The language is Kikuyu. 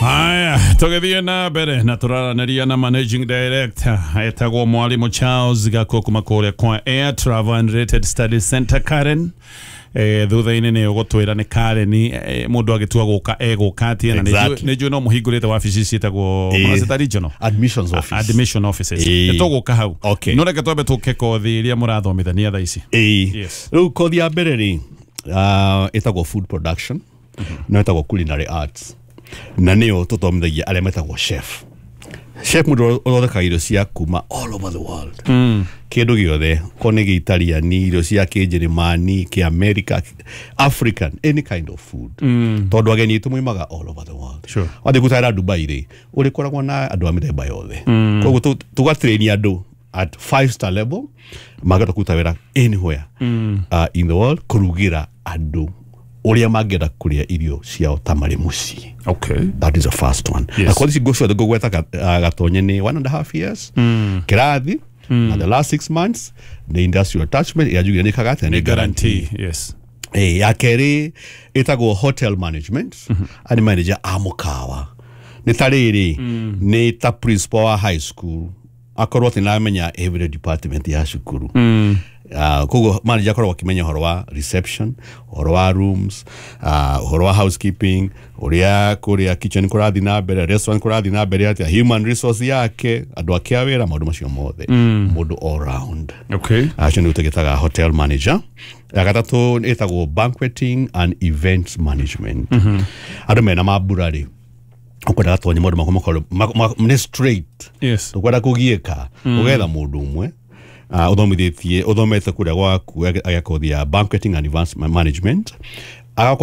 Haya, tũgĩthiĩ na mbere na tũraranĩria na managing director etagwo Mwalimu Charles Gakuo kuma kũrĩa kwa Air Travel and Related Studies Center Karen. Thutha-inĩ nĩ ũgũtwĩra nĩ Karen, mũndũ agĩtua gũka egũka atĩa, na nĩ njũĩ no mũhingũrĩte wabici ciĩtagwo mũracita regional admissions office. Admission offices. Tũgũka hau. No reke twambe tũke kothi iria mũrathomithania thaa ici. Yes. Rĩu kothi ya mbere rĩ, ĩtagwo food production, no ĩtagwo culinary arts, na nĩyo tũthomithagia arĩa metagwo chef. Chef mũndũ ũthondekaga irio cia kuma all over the world, kĩndũ gĩothe, ko nĩ gĩitaliani, irio cia kĩnjĩrĩmani, kĩamerika, African, any kind of food, tondũ ageni aitũ moimaga all over the world. Wathiĩ gũtara Dubai rĩ, ũrĩkoragwo na andũ a mĩthemba yothe. Koguo tũgatrain andũ at 5 star level mangĩhota kũruta wĩra anywhere in the world, kũrugĩra andũ ũrĩa mangĩenda kũrĩa irio ciao ta marĩ mũciĩ. That is the first one. Na kothi ici ciothe ngũgweta gatonye nĩ 1.5 years kĩrathi, na the last 6 months nĩ industrial attachment ĩrĩa njugire nĩ kaga atĩa? Nĩ guarantee, yes. Ya kerĩ ĩtagwo hotel management. Ani manager a mũkawa nĩ ta rĩrĩ, nĩ ta principal wa high school, akorwo atĩ nĩaramenya every department ya cukuru. Koguo manager akoragwo akĩmenya ũhoro wa reception, ũhoro wa rooms, ũhoro wa housekeeping, ũrĩa kũrĩa kitchen kũrathiĩ na mbere, restaurant kũrathiĩ na mbere atĩa, human resource yake, andũ ake a wĩra, maũndũ macio mothe, mũndũ all round. Acio nĩguo tũgĩtaga hotel manager. Ya gatatũ ĩtagwo banqueting and events management. Andũ mena mambura rĩ, ũkwenda gatonya maũndũ makwa makorwo nĩ straight. Tũkwenda kũgiĩka, ũgetha mũndũ ũmwe ũthomithĩtie, ũthomete kũrĩa gwaku, agakothi ya banqueting and events management agakorwo.